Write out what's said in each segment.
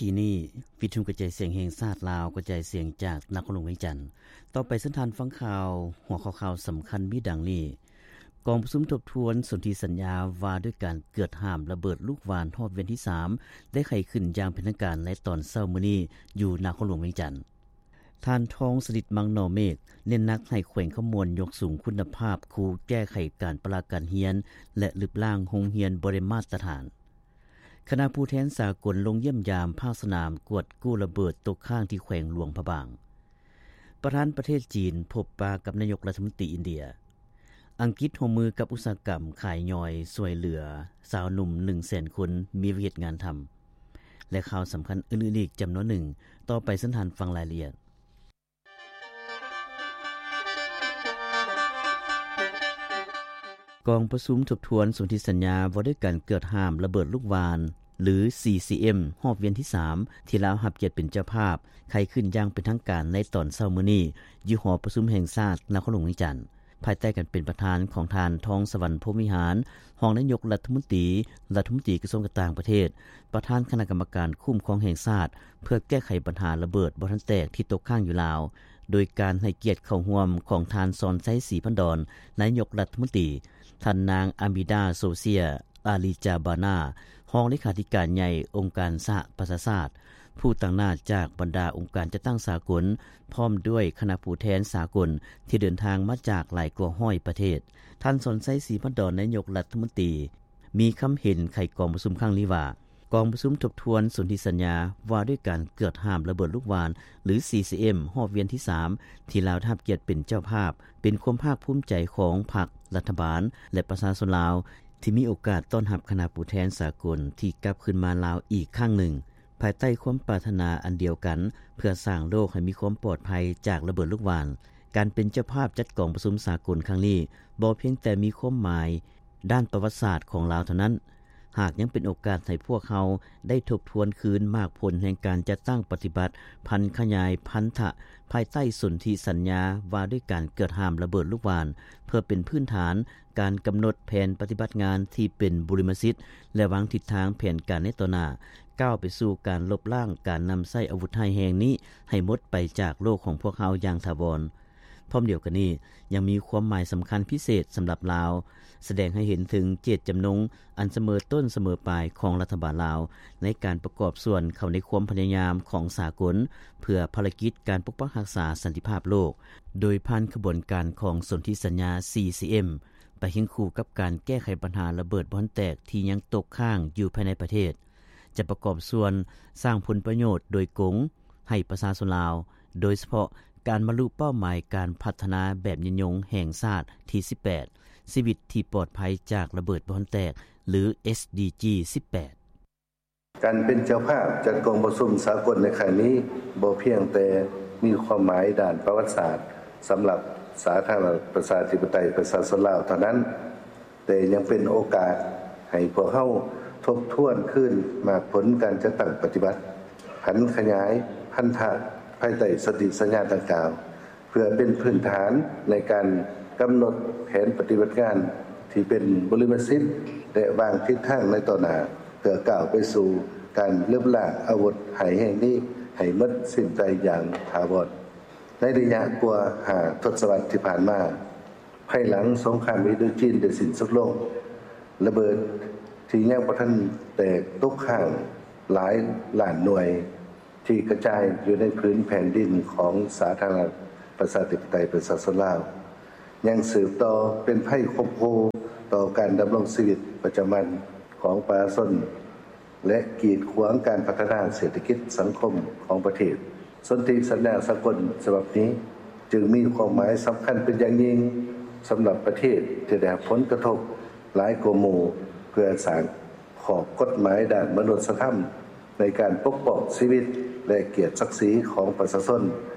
ທີ່ນີ້ ວິທຍຸກະຈາຍສຽງແຫ່ງຊາດລາວ ກະຈາຍສຽງຈາກນະຄອນຫຼວງວຽງຈັນ. ຕໍ່ໄປເຊີນທ່ານຟັງຂ່າວ. ຫົວຂໍ້ຂ່າວສຳຄັນມີດັ່ງນີ້: ກອງປະຊຸມທົບທວນສົນທິສັນຍາວ່າດ້ວຍການເກືອດຫ້າມລະເບີດລູກຫວ່ານຮອບວຽນທີສາມ ໄດ້ໄຂຂຶ້ນຢ່າງເປັນທາງການໃນຕອນເຊົ້າມື້ນີ້ ຢູ່ນະຄອນຫຼວງວຽງຈັນ. ທ່ານ ທອງສະລິດ ມັງໜໍເມກ ເນັ້ນໜັກໃຫ້ແຂວງຄຳມ່ວນຍົກສູງຄຸນນະພາບຄູແກ້ໄຂການປະລະການຮຽນ ແລະ ລຶບລ້າງໂຮງຮຽນບໍ່ໄດ້ມາດຕະຖານ. ຄະນະຜູ້ແທນສາກົນລົງຢ້ຽມຢາມພາກສະໜາມກວດກູ້ລະເບີດຕົກຄ້າງທີ່ແຂວງຫຼວງພະບາງ. ປະທານປະເທດຈີນພົບປະກັບນາຍົກລັດຖະມົນຕີອິນເດຍ. ອັງກິດຮ່ວມມືກັບອຸດສາຫະກຳຂາຍຍ່ອຍຊ່ວຍເຫຼືອຊາວໜຸ່ມໜຶ່ງແສນຄົນມີວຽກເຮັດງານທຳ ແລະ ຂ່າວສຳຄັນອື່ນໆອີກຈຳນວນໜຶ່ງ. ຕໍ່ໄປເຊີນທ່ານຟັງລາຍລະອຽດ. ກອງປະຊຸມທົບທວນສົນທິສັນຍາວ່າດ້ວຍການເກືອດຫ້າມລະເບີດລູກຫວ່ານ ຫຼື ຊີຊີເອັມ ຮອບວຽນທີສາມ ທີ່ລາວຮັບກຽດເປັນເຈົ້າພາບ ໄຂຂຶ້ນຢ່າງເປັນທາງການໃນຕອນເຊົ້າມື້ນີ້ ຢູ່ຫໍປະຊຸມແຫ່ງຊາດນະຄອນຫຼວງວຽງຈັນ. ພາຍໃຕ້ການເປັນປະທານຂອງທ່ານ ທອງສະຫວັນ ພົມວິຫານ ຮອງນາຍົກລັດຖະມົນຕີ, ລັດຖະມົນຕີກະຊວງການຕ່າງປະເທດ, ປະທານຄະນະກຳມະການຄຸ້ມຄອງແຫ່ງຊາດ ເພື່ອແກ້ໄຂບັນຫາລະເບີດບໍ່ທັນແຕກທີ່ຕົກຄ້າງຢູ່ລາວ, ໂດຍການໃຫ້ກຽດເຂົ້າຮ່ວມຂອງທ່ານ ສອນໄຊ ສີພັນດອນ ນາຍົກລັດຖະມົນຕີ, ທ່ານນາງ ອາມິດາ ໂຊເຊຍ ອາລີຈາບານາ ຮອງເລຂາທິການໃຫຍ່ອົງການສະຫະປະຊາຊາດ, ຜູ້ຕາງໜ້າຈາກບັນດາອົງການຈັດຕັ້ງສາກົນ, ພ້ອມດ້ວຍຄະນະຜູ້ແທນສາກົນທີ່ເດີນທາງມາຈາກຫຼາຍກວ່າຮ້ອຍປະເທດ. ທ່ານ ສອນໄຊ ສີພັນດອນ ນາຍົກລັດຖະມົນຕີ ມີຄຳເຫັນໄຂກອງປະຊຸມຄັ້ງນີ້ວ່າ, ກອງປະຊຸມທົບທວນສົນທິສັນຍາວ່າດ້ວຍການເກືອດຫ້າມລະເບີດລູກຫວ່ານ ຫຼື ຊີຊີເອັມ ຮອບວຽນທີສາມ ທີ່ລາວໄດ້ຮັບກຽດເປັນເຈົ້າພາບ ເປັນຄວາມພາກພູມໃຈຂອງພັກ, ລັດຖະບານ ແລະ ປະຊາຊົນລາວ ທີ່ມີໂອກາດຕ້ອນຮັບຄະນະຜູ້ແທນສາກົນທີ່ກັບຄືນມາລາວອີກຄັ້ງໜຶ່ງ ພາຍໃຕ້ຄວາມປາດຖະໜາອັນດຽວກັນ ເພື່ອສ້າງໂລກໃຫ້ມີຄວາມປອດໄພຈາກລະເບີດລູກຫວ່ານ. ການເປັນເຈົ້າພາບຈັດກອງປະຊຸມສາກົນຄັ້ງນີ້ ບໍ່ພຽງແຕ່ມີຄວາມໝາຍດ້ານປະຫວັດສາດຂອງລາວເທົ່ານັ້ນ, ຫາກຍັງເປັນໂອກາດໃຫ້ພວກເຮົາໄດ້ທົບທວນຄືນໝາກຜົນແຫ່ງການຈັດຕັ້ງປະຕິບັດພັນຂະຫຍາຍພັນທະ ພາຍໃຕ້ສົນທິສັນຍາວ່າດ້ວຍການເກືອດຫ້າມລະເບີດລູກຫວ່ານ ເພື່ອເປັນພື້ນຖານ ການກຳນົດແຜນປະຕິບັດງານທີ່ເປັນບຸລິມະສິດ ແລະ ວາງທິດທາງແຜນການໃນຕໍ່ໜ້າ ກ້າວໄປສູ່ການລົບລ້າງການນຳໃຊ້ອາວຸດຮ້າຍແຮງນີ້ໃຫ້ໝົດໄປຈາກໂລກຂອງພວກເຮົາຢ່າງຖາວອນ. ພ້ອມດຽວກັນນີ້, ຍັງມີຄວາມໝາຍສຳຄັນພິເສດສຳລັບລາວ, ສະແດງໃຫ້ເຫັນເຖິງເຈດຈຳນົງອັນສະເໝີຕົ້ນສະເໝີປາຍຂອງລັດຖະບານລາວ ໃນການປະກອບສ່ວນເຂົ້າໃນຄວາມພະຍາຍາມຂອງສາກົນ ເພື່ອພາລະກິດການປົກປັກຮັກສາສັນຕິພາບໂລກ, ໂດຍຜ່ານຂະບວນການຂອງສົນທິສັນຍາ ຊີຊີເອັມ ໄປຄຽງຄູ່ກັບການແກ້ໄຂບັນຫາລະເບີດບໍ່ທັນແຕກທີ່ຍັງຕົກຄ້າງຢູ່ພາຍໃນປະເທດ, ຈະປະກອບສ່ວນສ້າງຜົນປະໂຫຍດໂດຍກົງໃຫ້ປະຊາຊົນລາວ, ໂດຍສະເພາະການບັນລຸເປົ້າໝາຍການພັດທະນາແບບຍືນຍົງແຫ່ງຊາດທີສິບແປດ ຊີວິດທີ່ປອດໄພຈາກລະເບີດບໍ່ທັນແຕກ ຫຼື ເອສດີຈີ ສິບແປດ. ການເປັນເຈົ້າພາບຈັດກອງປະຊຸມສາກົນໃນຄັ້ງນີ້ ບໍ່ພຽງແຕ່ມີຄວາມໝາຍດ້ານປະຫວັດສາດສຳລັບສາທາລະນະລັດປະຊາທິປະໄຕປະຊາຊົນລາວເທົ່ານັ້ນ, ແຕ່ຍັງເປັນໂອກາດໃຫ້ພວກເຮົາທົບທວນຄືນໝາກຜົນການຈັດຕັ້ງປະຕິບັດ, ຜັນຂະຫຍາຍພັນທະ ພາຍໃຕ້ສົນທິສັນຍາດັ່ງກ່າວ, ເພື່ອເປັນພື້ນຖານໃນການກຳນົດແຜນປະຕິບັດງານທີ່ເປັນບຸລິມະສິດ ແລະ ວາງທິດທາງໃນຕໍ່ໜ້າ ເພື່ອກ້າວໄປສູ່ການລຶບລ້າງອາວຸດຮ້າຍແຮງນີ້ໃຫ້ໝົດສິ້ນໄປຢ່າງຖາວອນ. ໃນໄລຍະກວ່າຫ້າທົດສະວັດທີ່ຜ່ານມາ, ພາຍຫຼັງສົງຄາມອິນໂດຈີນໄດ້ສິ້ນສຸດລົງ, ລະເບີດທີ່ຍັງບໍ່ທັນແຕກຕົກຄ້າງຫຼາຍລ້ານໜ່ວຍ ທີ່ກະຈາຍຢູ່ໃນຜືນແຜ່ນດິນຂອງສາທາລະນະລັດປະຊາທິປະໄຕປະຊາຊົນລາວ ຍັງສືບຕໍ່ເປັນໄພຂົ່ມຂູ່ຕໍ່ການດຳລົງຊີວິດປະຈຳວັນຂອງປະຊາຊົນ ແລະ ກີດຂວາງການພັດທະນາເສດຖະກິດສັງຄົມຂອງປະເທດ. ສົນທິສັນຍາສາກົນສະບັບນີ້ຈຶ່ງມີຄວາມໝາຍສຳຄັນເປັນຢ່າງຍິ່ງສຳລັບປະເທດທີ່ໄດ້ຮັບຜົນກະທົບຫຼາຍກວ່າໝູ່ ເພື່ອສ້າງຂອບກົດໝາຍດ້ານມະນຸດສະທຳໃນການປົກປ້ອງຊີວິດ ແລະ ກຽດສັກສີຂອງປະຊາຊົນ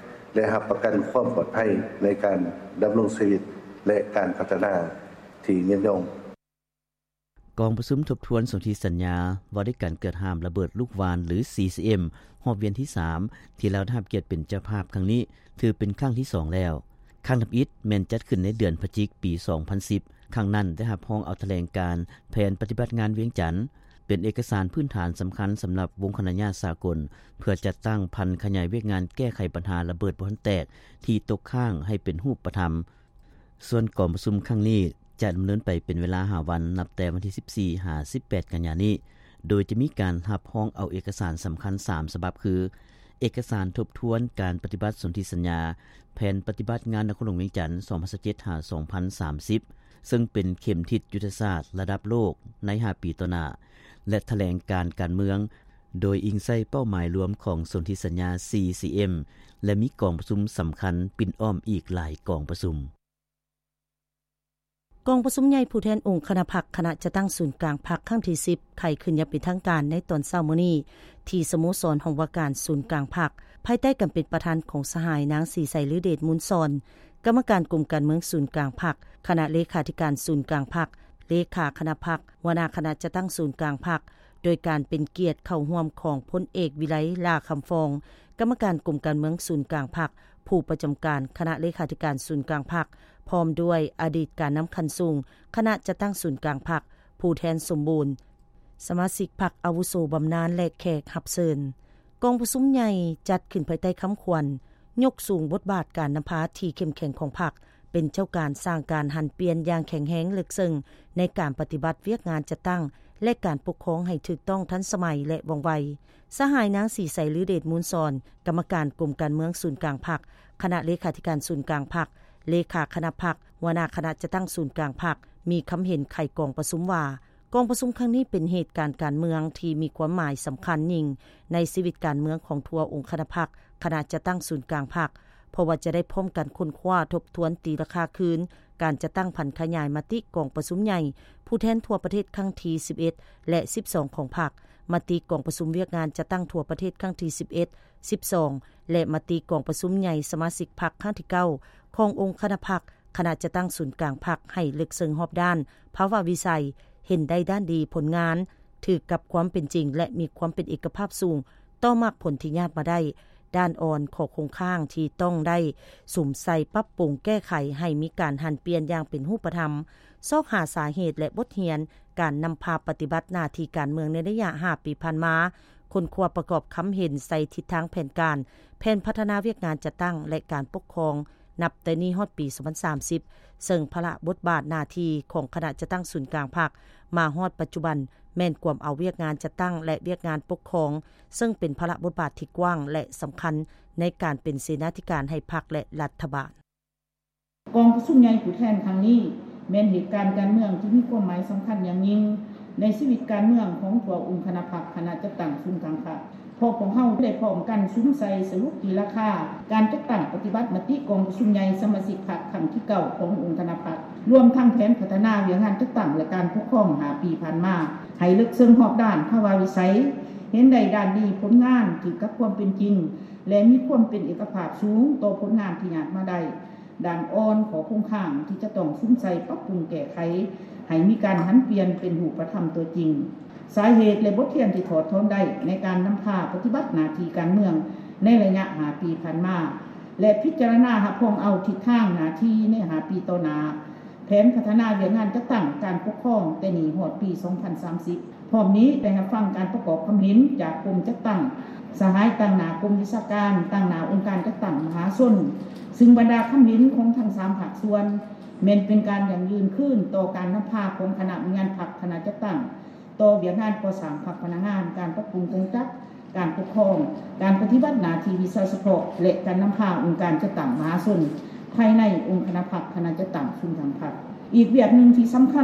ແລະ ຮັບປະກັນຄວາມປອດໄພໃນການດຳລົງຊີວິດ ແລະ ການພັດທະນາທີ່ຍືນຍົງ. ກອງປະຊຸມທົບທວນສົນທິສັນຍາວ່າດ້ວຍການເກືອດຫ້າມລະເບີດລູກຫວ່ານ ຫຼື ຊີຊີເອັມ ຮອບວຽນທີສາມ ທີ່ລາວໄດ້ຮັບກຽດເປັນເຈົ້າພາບຄັ້ງນີ້ ຖືເປັນຄັ້ງທີສອງແລ້ວ. ຄັ້ງທຳອິດແມ່ນຈັດຂຶ້ນໃນເດືອນພະຈິກ ປີສອງພັນສິບ ຄັ້ງນັ້ນໄດ້ຮັບຮອງເອົາຖະແຫຼງການແຜນປະຕິບັດງານວຽງຈັນ. ເປັນເອກະສານພື້ນຖານສຳຄັນສຳລັບວົງຄະນະຍາດສາກົນ ເພື່ອຈັດຕັ້ງຜັນຂະຫຍາຍວຽກງານແກ້ໄຂບັນຫາລະເບີດບໍ່ທັນແຕກທີ່ຕົກຄ້າງໃຫ້ເປັນຮູບປະທຳ. ສ່ວນກອງປະຊຸມຄັ້ງນີ້ຈະດຳເນີນໄປເປັນເວລາຫ້າວັນ ນັບແຕ່ວັນທີສິບສີ່ຫາສິບແປດກັນຍານີ້ ໂດຍຈະມີການຮັບຮອງເອົາເອກະສານສຳຄັນສາມສະບັບ ຄື ເອກະສານທົບທວນການປະຕິບັດສົນທິສັນຍາ ແຜນປະຕິບັດງານນະຄອນຫຼວງວຽງຈັນ ສອງພັນຊາວເຈັດ ຫາ ສອງພັນສາມສິບ ເຊິ່ງເປັນເຂັມທິດຍຸດທະສາດລະດັບໂລກໃນຫ້າປີຕໍ່ໜ້າ ແລະ ຖະແຫຼງການການເມືອງ ໂດຍອີງໃສ່ເປົ້າໝາຍລວມຂອງສົນທິສັນຍາ ສີ່ ຊີ ເອັມ ແລະ ມີກອງປະຊຸມສຳຄັນປິ່ນອ້ອມອີກຫຼາຍກອງປະຊຸມ. ກອງປະຊຸມໃຫຍ່ຜູ້ແທນອົງຄະນະພັກ ຄະນະຈັດຕັ້ງສູນກາງພັກ ຄັ້ງທີສິບ ໄຂຂຶ້ນຢ່າງເປັນທາງການໃນຕອນເຊົ້າມື້ນີ້ ທີ່ສະໂມສອນຫ້ອງວ່າການສູນກາງພັກ ພາຍໃຕ້ການເປັນປະທານຂອງສະຫາຍນາງ ສີໄຊ ລືເດດມູນສອນ ກຳມະການກົມການເມືອງສູນກາງພັກ, ຄະນະເລຂາທິການສູນກາງພັກ, ເລຂາຄະນະພັກ, ຫົວໜ້າຄະນະຈັດຕັ້ງສູນກາງພັກ, ໂດຍການເປັນກຽດເຂົ້າຮ່ວມຂອງພົນເອກ ວິໄລ ຫຼ້າຄຳຟອງ ກຳມະການກົມການເມືອງສູນກາງພັກ, ຜູ້ປະຈຳການຄະນະເລຂາທິການສູນກາງພັກ, ພ້ອມດ້ວຍອະດີດການນຳຂັ້ນສູງຄະນະຈັດຕັ້ງສູນກາງພັກ, ຜູ້ແທນສົມບູນ, ສະມາຊິກພັກອາວຸໂສບຳນານ ແລະ ແຂກຮັບເຊີນ. ກອງປະຊຸມໃຫຍ່ຈັດຂຶ້ນພາຍໃຕ້ຄຳຂວັນ ຍົກສູງບົດບາດການນຳພາທີ່ເຂັ້ມແຂງຂອງພັກ, ເປັນເຈົ້າການສ້າງການຫັນປ່ຽນຢ່າງແຂງແຮງເລິກເຊິ່ງໃນການປະຕິບັດວຽກງານຈັດຕັ້ງ ແລະ ການປົກຄອງໃຫ້ຖືກຕ້ອງ, ທັນສະໄໝ ແລະ ວ່ອງໄວ. ສະຫາຍນາງ ສີໄຊ ລືເດດມູນສອນ ກຳມະການກົມການເມືອງສູນກາງພັກ, ຄະນະເລຂາທິການສູນກາງພັກ, ເລຂາຄະນະພັກ, ຫົວໜ້າຄະນະຈັດຕັ້ງສູນກາງພັກ ມີຄຳເຫັນໄຂກອງປະຊຸມວ່າ, ກອງປະຊຸມຄັ້ງນີ້ເປັນເຫດການການເມືອງທີ່ມີຄວາມໝາຍສຳຄັນຍິ່ງໃນຊີວິດການເມືອງຂອງທົ່ວອົງຄະນະພັກ, ຄະນະຈັດຕັ້ງສູນກາງພັກ, ເພາະວ່າຈະໄດ້ພ້ອມກັນຄົ້ນຄວ້າ, ທົບທວນ, ຕີລາຄາຄືນການຈັດຕັ້ງຜັນຂະຫຍາຍມະຕິກອງປະຊຸມໃຫຍ່ຜູ້ແທນທົ່ວປະເທດຄັ້ງທີສິບເອັດ ແລະ ສິບສອງ ຂອງພັກ, ມະຕິກອງປະຊຸມວຽກງານຈັດຕັ້ງທົ່ວປະເທດຄັ້ງທີສິບເອັດ, ສິບສອງ ແລະ ມະຕິກອງປະຊຸມໃຫຍ່ສະມາຊິກພັກຄັ້ງທີເກົ້າ ຂອງອົງຄະນະພັກ, ຄະນະຈັດຕັ້ງສູນກາງພັກໃຫ້ເລິກເຊິ່ງຮອບດ້ານ, ພາວະວິໄສ, ເຫັນໄດ້ດ້ານດີ, ຜົນງານ, ຖືກກັບຄວາມເປັນຈິງ ແລະ ມີຄວາມເປັນເອກະພາບສູງຕໍ່ໝາກຜົນທີ່ຍາດມາໄດ້. ດ້ານອ່ອນ, ຂໍ້ຄົງຄ້າງທີ່ຕ້ອງໄດ້ສຸມໃສ່, ປັບປຸງ, ແກ້ໄຂໃຫ້ມີການຫັນປ່ຽນຢ່າງເປັນຮູບປະທຳ, ຊອກຫາສາເຫດ ແລະ ບົດຮຽນການນຳພາປະຕິບັດໜ້າທີ່ການເມືອງໃນໄລຍະຫ້າປີຜ່ານມາ, ຄົ້ນຄວ້າປະກອບຄຳເຫັນໃສ່ທິດທາງແຜນການ, ແຜນພັດທະນາວຽກງານຈັດຕັ້ງ ແລະ ການປົກຄອງ ນັບແຕ່ນີ້ຮອດປີສອງພັນສາມສິບ ເຊິ່ງພາລະບົດບາດໜ້າທີ່ຂອງຄະນະຈັດຕັ້ງສູນກາງພັກ ມາຮອດປັດຈຸບັນ ແມ່ນກວມເອົາວຽກງານຈັດຕັ້ງ ແລະ ວຽກງານປົກຄອງ ເຊິ່ງເປັນພາລະບົດບາດທີ່ກວ້າງ ແລະ ສຳຄັນໃນການເປັນເສນາທິການໃຫ້ພັກ ແລະ ລັດຖະບານ. ກອງປະຊຸມໃຫຍ່ຜູ້ແທນຄັ້ງນີ້ ແມ່ນເຫດການການເມືອງທີ່ມີຄວາມໝາຍສຳຄັນຢ່າງຍິ່ງໃນຊີວິດການເມືອງຂອງທົ່ວອົງຄະນະພັກ, ຄະນະຈັດຕັ້ງສູນກາງພັກ. ພວກເຮົາໄດ້ພ້ອມກັນສຸມໃສ່ສະຫຼຸບຕີລາຄາການຈັດຕັ້ງປະຕິບັດມະຕິກອງປະຊຸມໃຫຍ່ສະມາຊິກພັກຄັ້ງທີເກົ້າຂອງອົງຄະນະພັກ, ລວມທັງແຜນພັດທະນາວຽກງານຈັດຕັ້ງ ແລະ ການປົກຄອງຫ້າປີຜ່ານມາ ໃຫ້ເລິກເຊິ່ງຮອບດ້ານ, ພາວະວິໄສ, ເຫັນໄດ້ດ້ານດີ, ຜົນງານ, ຖືກກັບຄວາມເປັນຈິງ ແລະ ມີຄວາມເປັນເອກະພາບສູງຕໍ່ຜົນງານທີ່ຍາດມາໄດ້. ດ້ານອ່ອນ, ຂໍ້ຄົງຄ້າງທີ່ຈະຕ້ອງສຸມໃສ່ປັບປຸງແກ້ໄຂ ໃຫ້ມີການຫັນປ່ຽນເປັນຮູບປະທຳຕົວຈິງ. ສາເຫດ ແລະ ບົດຮຽນທີ່ຖອດຖອນໄດ້ໃນການນຳພາປະຕິບັດໜ້າທີ່ການເມືອງໃນໄລຍະຫ້າປີຜ່ານມາ ແລະ ພິຈາລະນາຮັບຮອງເອົາທິດທາງໜ້າທີ່ໃນຫ້າປີຕໍ່ໜ້າ, ແຜນພັດທະນາວຽກງານຈັດຕັ້ງການປົກຄອງແຕ່ນີ້ຮອດປີສອງພັນສາມສິບ. ພ້ອມນີ້ໄດ້ຮັບຟັງການປະກອບຄຳເຫັນຈາກກົມຈັດຕັ້ງ, ສະຫາຍຕາງໜ້າກົມວິຊາການ, ຕາງໜ້າອົງການຈັດຕັ້ງມະຫາຊົນ, ຊຶ່ງບັນດາຄຳເຫັນຂອງທັງສາມພາກສ່ວນ ແມ່ນເປັນການຢັ້ງຢືນຄືນຕໍ່ການນຳພາຂອງຄະນະວິຍານພັກ, ຄະນະຈັດຕັ້ງ, ຕໍ່ວຽກງານກໍ່ສ້າງພັກພະນັກງານ, ການປັບປຸງກົງຈັກ, ການປົກຄອງ, ການປະຕິບັດໜ້າທີ່ວິຊາສະເພາະ ແລະ ການນຳພາອົງການຈັດຕັ້ງມະຫາຊົນ ພາຍໃນອົງຄະນະພັກ, ຄະນະຈັດຕັ້ງສູນກາງພັກ. ອີກວຽກໜຶ່ງທີ່ສຳຄັນ